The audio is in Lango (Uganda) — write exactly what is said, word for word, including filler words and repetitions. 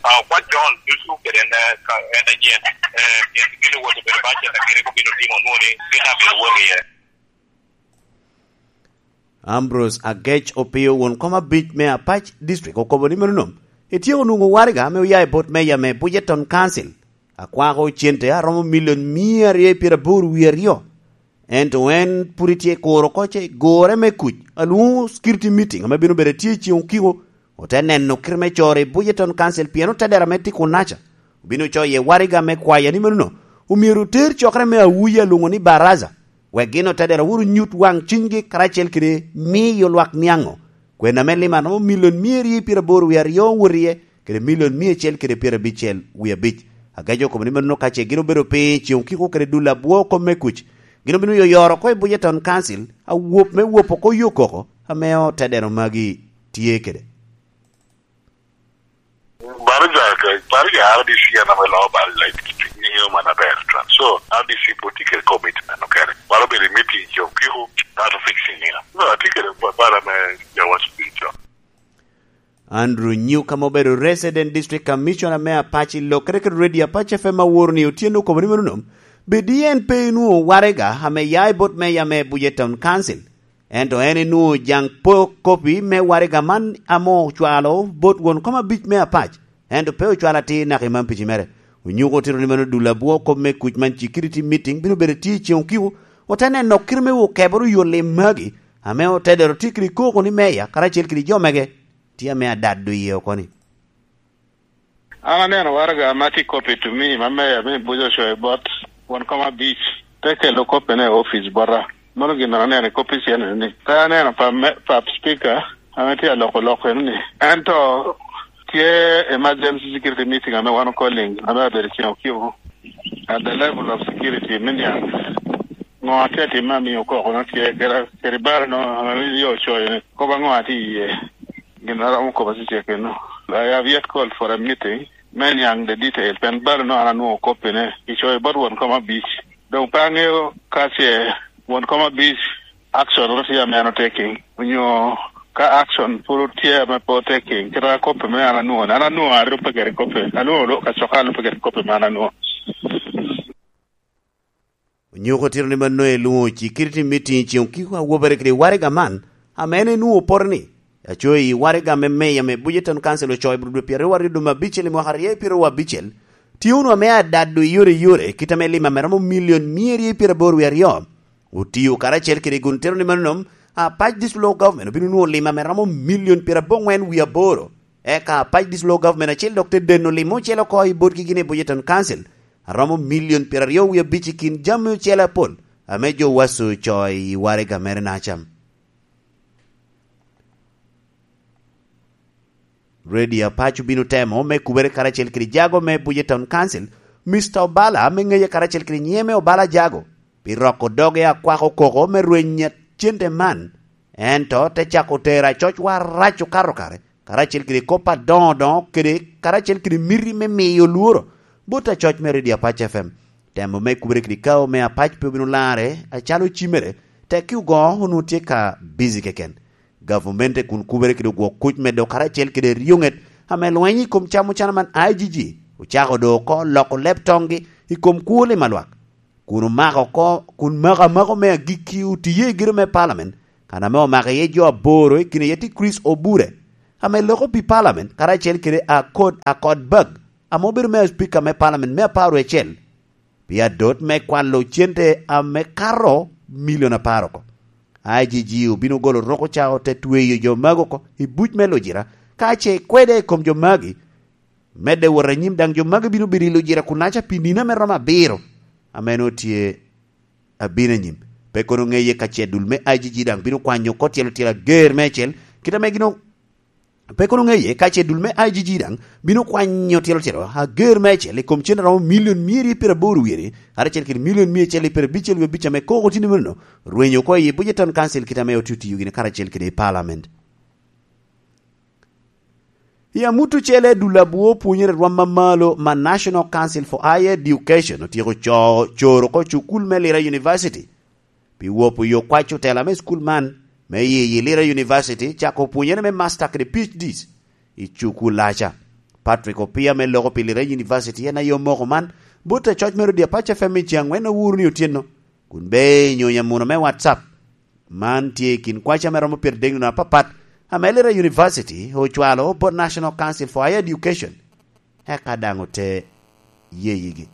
Okwac John ducu kede en, eh, ka en anyen, eh, pien gin owoto bedo bacet, a gin rik obino timo onwoŋo ni gin abino wot iye. Ambrose Agec Opio, won kom abic me Apac District, okobo ni meno nom etyeko nwoŋo waraga ame oya i bot meya me Bujeton Council, akwako cente a romo milion mia aryo i pyeraboro wie aryo. Ento en pwod etye kuro oko ce gore me kuc, alwoŋo security meeting ame bino bedo tye i ceŋ okiko, ote neno kite me coro i Bujeton Council pien otedero ame tye kunaca obino coyo iye waraga me kwaya ni meno omyero oter cokere me awuya alwoŋo ni Baraza, wek gin otedero wuro nyut waŋ cunygi karacel kede miyo lwak niaŋo kwena me lima romo milion mia aryo i pyeraboro wie aryo wot iye, kede milion mia acel kede pyerabicel wie abic. Agec okobo ni meno ka ce gin obedo piny i ceŋ okiko kede dul abwo kom me kuc, gin obino yoyoro oko i Bujeton Council, awop me wop oko yo koko ame otedero magi tye kede. Baraza, Baraza R D C en ame loo Baraza, ŋeo man aber twan. So, R D C pwod tye kede commitment okene. Waro bedo i meeting jo kiko, that fixing, you know. No, atye kede ba-, bara me jawa spiritual. Andrew Nyuka ma obedo Resident District Commissioner me Apac i lokere kede Radio Apac F M aworo ni Otyeno okobo ni meno nom, bedi en pe enwoŋo waraga ame ya i bot meya me Bujeton Council. Ento en enwoŋo jaŋ po kopi me waraga man ame ocwalo bot won kom abic me Apac, ento pe ocwalo atir naka i man pici mere. Onyuko otito ni mano dul abwo kop me kuc man security meeting bino bedo tye i ceŋ okiko, ote neno kite me okeboro yo lim magi, ame otedero tye kede koko ni meya karacel kede jo mege tye ame adado iye oko ni. An aneno waraga ma tye kopi to me, ma meya me Bujo ocoyo bot won kom abic, te kelo kopine i opic bota. Mano gin an aneno i kopi cen ni. Pe aneno pa me, pa speaker ame tye aloko lok eno ni. Ento tye emergency security meeting ame wan okoling, ame abedo cen okiko. At the level of security me niaŋ, ŋo atye atime amiyo koko no tye, kede, kede bal no, ame yo ocoyo ni, kop aŋo atye iye? Gin a romo kobo cecek eno. I have yet called for a meeting me niaŋ the detail, pien balo no an anwoŋo kopine, icoyo bot won kom abic. Doŋ pe aŋeo ka ce won kom abic action ru tye ame an otaking, onyo ka action pwod tye ame pe otaking, kit a kopi me an anwoŋo, an anwoŋo arubbe kede kopi, anwoŋo lo-, kacoka alubbe kede kopi me an anwoŋo. Onyuko tito ni mano elwoŋo security meeting i ceŋ okiko awobere kede waraga man, ame en enwoŋo opoto ni, acoyo i waraga me meya me Bujeton Council ocoyo i dwe pyeraryo aryo dwe me abicel i mwaka aryo pyeraryo abicel, tye wunu ame adado i yore i yore, kit ame lim ame romo milion mia aryo pyeraboro wie aryo otio karacel kede gun tito ni mano nom, Apac District Local Government obino nwoŋo lim ame romo milion pyerabongwen wie aboro. Eka Apac District Local Government acel dok te deno lim ocele oko i botgi gin i Bujeton Council, a romo milion pyeraryo wie abic i kin jami ocele apol, ame jo waco ocoo i waraga mere nacam. Radio Apac obino temo me kubere karacel kede jago me Bujeton Council, Mister Obala, ame ŋeye karacel kede nyiŋe me Obala Jago, pi roko doge akwako koko me rweny cente man, ento te cako tero acocwa arac okato kare, karacel kede kop adoŋo doŋo kede karacel kede miti me miyo lworo bot acoc me Radio Apac F M. Temo me kubere kede kao me Apac pe obino larre acalo cimere, tekki ogoŋo onwoŋo tye ka busy keken. Gavumenti kun kubere kede ogwok kuc medo karacel kede ryoŋet ame lweny i kom cam ocana man I G G ocako do oko loko leb toŋgi i kom kwo lim alwak, kun omako oko, kun mako amako me agikki otiye i gedo me Parliament, kan ame omako iye jo aboro, i kine iye tye Chris Obure, ame loko pi Parliament, karacel kede Akod, Akod Bag, ame obedo me Speaker me Parliament me apar wie acel, pi adot me kwalo cente ame kato milion apar oko. I G G obino golo roko ca ote tweyo jo magi oko i buc me lujira, ka ce kwede i kom jo magi, medde wot anyim daŋ jo magi bino bedo i lujira kunaca pi nino ame romo abiro, ame nwoŋo tye abino anyim. Pe kono ŋeye ka ce dul me I G G daŋ bino kwanyo oko tyelo tyelo ager meicel, kit ame gin o-, pe kono ŋeye ka ce dul me I G G daŋ bino kwanyo tyelo tyelo ager meicel i kom cen a romo milion mia aryo pyeraboro wiye, karacel kede milion mia acel pyerabicel wie abic ame koko tye ni meno, rwenyo oko i Bujeton Council kit ame otio tiyo gini karacel kede i Parliament. I amut ocele, dul abwo pwonyere rwam mamalo ma National Council for Higher Education otyeko co-, coro oko cukul me Lira University pi wopo yo kwac otela me cukul man me yiyi Lira University cako pwonyere me master kede P H Ds i cukul aca. Patrick Opia me loko pi Lira University en aye omoko man bot acoc mere odi apac F M i ceng angwen owuro ni otyeno, kun be nyonyo amuno me WhatsApp. Man tye i kin kwaca me romo pyeradek nino apapat ame Lira University ocwalo bot National Council for Higher Education, eka daŋ ote yeyigi.